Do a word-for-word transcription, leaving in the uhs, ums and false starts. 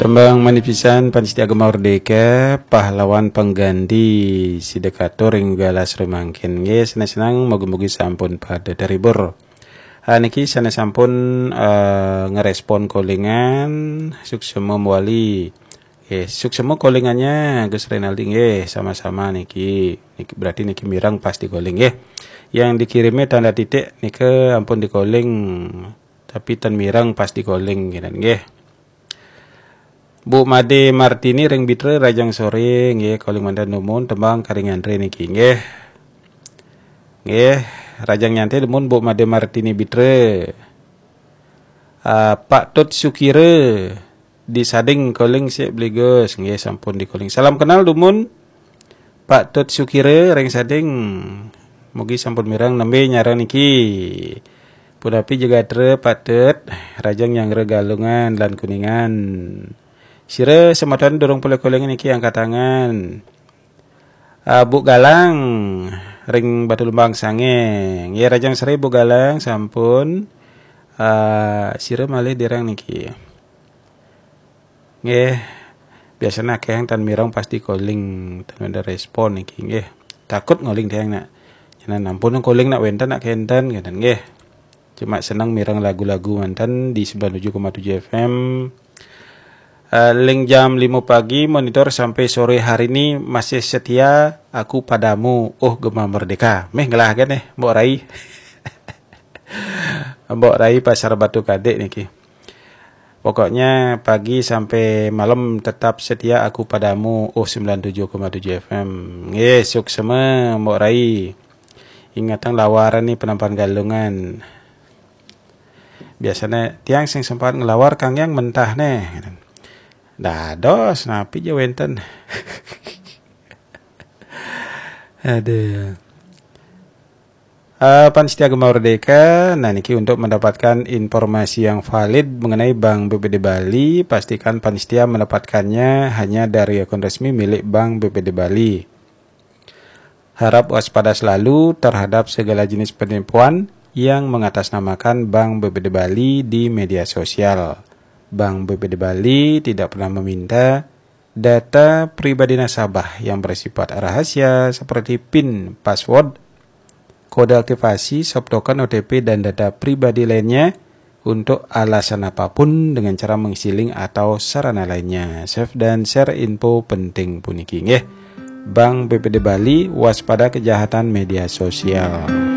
Tembang manipisan pansitia Gema Merdeka, pahlawan pengganti si dekatur ring galah sore mangkin. Nggih, senang-senang, mugi-mugi sampun pada terhibur. Ah, niki sané sampun eh, ngerespon callingan, suksema mawali. Nggih, suksema callingannya Gus Renaldi, nggih, sama-sama niki. Niki berarti niki mireng pas di calling, nggih. Yang dikirimnya tanda titik nika ampun di calling, tapi ten mireng pas di calling, nggih. Bu Made Martini ring Bitra, rahajeng sore, nggih, calling manten dumun, tembang karing nyanté niki, nggih. Nggih, rahajeng nyanté dumun Bu Made Martini Bitra. Ah, Pak Tut Sukira di Sading, calling sik Bli Gus, nggih, sampun di calling. Salam kenal dumun Pak Tut Sukira ring Sading. Mugi sampun mireng, nembé nyareng niki. Punapi jegatra Pak Tut, rahajeng nyanggra Galungan lan Kuningan. Sira semeton durung polih calling niki angkat tangan. Ah, Bu Galang ring Batu Lembang Sangé. Nggih, rahajeng sore Bu Galang, sampun. Ah, sira malih direng niki. Nggih. Biasane akeh tan mireng pas di calling, tan ada respon niki, nggih. Takut calling tiang nak. Nyanan ampun calling nak wenten nak kenten, ngeten, nggih. Cuma seneng mireng lagu-lagu manten di sembilan tujuh koma tujuh F M. Eh, ring jam lima pagi monitor sampai sore hari ini masih setia aku padamu, oh Gema Merdeka. Meh ngelah kan eh, Mbok Rai. Mbok Rai Pasar Batu Kadek niki. Pokoknya pagi sampai malam tetap setia aku padamu, oh sembilan tujuh koma tujuh F M. Nggih, suksema Mbok Rai. Ingatang lawaran nih penampakan Galungan. Biasanya tiang sing sempat ngelawar kang yang mentah nih. Dados, napi ja wenten. Aduh. Eh, Pan Setia Gema Merdeka, nah niki untuk mendapatkan informasi yang valid mengenai Bank B P D Bali, pastikan Pan Setia mendapatkannya hanya dari akun resmi milik Bank B P D Bali. Harap waspada selalu terhadap segala jenis penipuan yang mengatasnamakan Bank B P D Bali di media sosial. Bank B P D Bali tidak pernah meminta data pribadi nasabah yang bersifat rahasia seperti pin, password, kode aktivasi, soft token, O T P, dan data pribadi lainnya untuk alasan apapun dengan cara mengisi link atau sarana lainnya. Save dan share info penting puniki, nggih. Bank B P D Bali, waspada kejahatan media sosial.